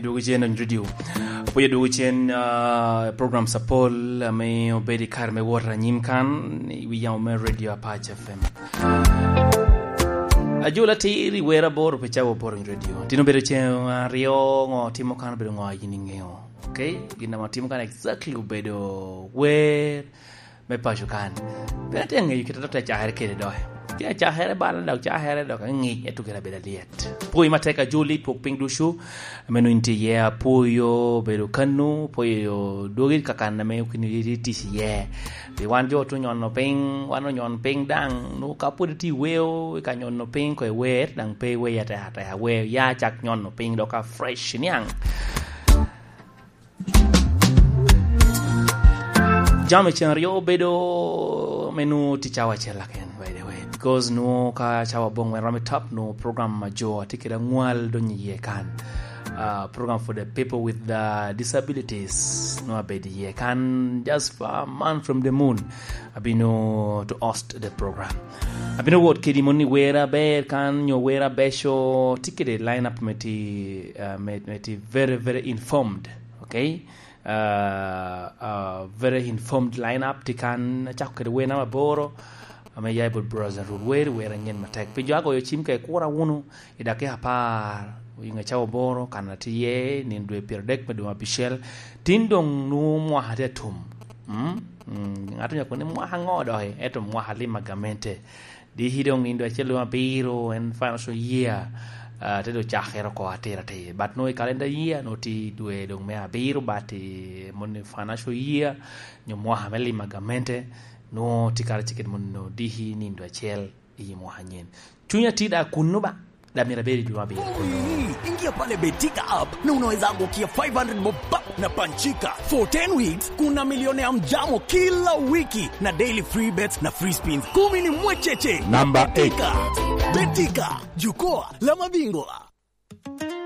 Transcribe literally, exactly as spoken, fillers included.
Dwogo cen i radio. Pwod dwogo cen, ah, programs apol ame obedo i kare me wot anyim kan, i wi yamo me Radio Apac F M. Ajol atir i wer aboro pi cawa aboro i radio. Tin obedo cen aryo, ŋo timo kan obedo ŋo a yin iŋeo. Okay? Gin ame atimo kan exactly obedo wer me paco kan. Pe atye aŋeyo kit a doŋ te cakere kede doki. Tye acakere bala dok cakere dok aŋic, ento gire abedo alyet. Pwoyo matek Ajoli twok piny ducu, ame nwoŋo in tye iye, apwoyo bedo kanu, pwoyo dwogi kakan ame okini itye tic iye. Pi wan jo te onyono piny, wan onyon piny daŋ, nwoŋo ka pwod itye i weo, i ka nyono piny ko i wer, daŋ pe iwer atek ateka, wer ya cak nyono piny dok a fresh niaŋ. Jami cen aryo obedo me nwoŋo tye cawa acel aken, by the way, because nwoŋo ka cawa aboŋwen romo i top, nwoŋo program a jo a tye kede aŋwal donyo iye kan. Ah, program for the people with the disabilities nwoŋo abedo iye kan just for a man from the moon. Abino to host the program. Abino wot kedi moni wer aber kan, nyo wer abeco, tye kede line up me tye, ah, me, me tye very, very informed. Okay? Uh, uh, very informed lineup tye kan, acako kede wer namba aboro, ame ya i bot Brother Rul Wer, wer anyen matek. Pi jo agoyo cim ka ikura wunu, i dakika apar, i ŋe cawa aboro, kan atye iye, nino dwe pyeradek me dwe abicel, tin doŋ nwoŋo mwaka tye atum. Mm? Mm, ŋat onyako ni mwaka ŋo doki, ento mwaka lim a gamente. Diki doŋ nindo acel doŋ abiro, en financial year, ah, te doŋ cakere oko atir atir. But nwoŋo i calendar year, nwoŋo tye dwe doŋ me abiro, but i moni financial year, nyo mwaka me limo a gamente, nwoŋo tye kara cikit moni nwoŋo diki nindo acel i mwaka anyen. Cunya tye da kunnu ba, da myero abed i dwe me abiro kunnu. Ii, ingia pale Betika app na unaweza angukia five hundred bob pap na panchika for ten weeks. Kuna milioni ya mjamo kila wiki na daily free bets na free spins kumi ni mwecheche. Number eight. Betika. Betika, jukwaa la mabingwa.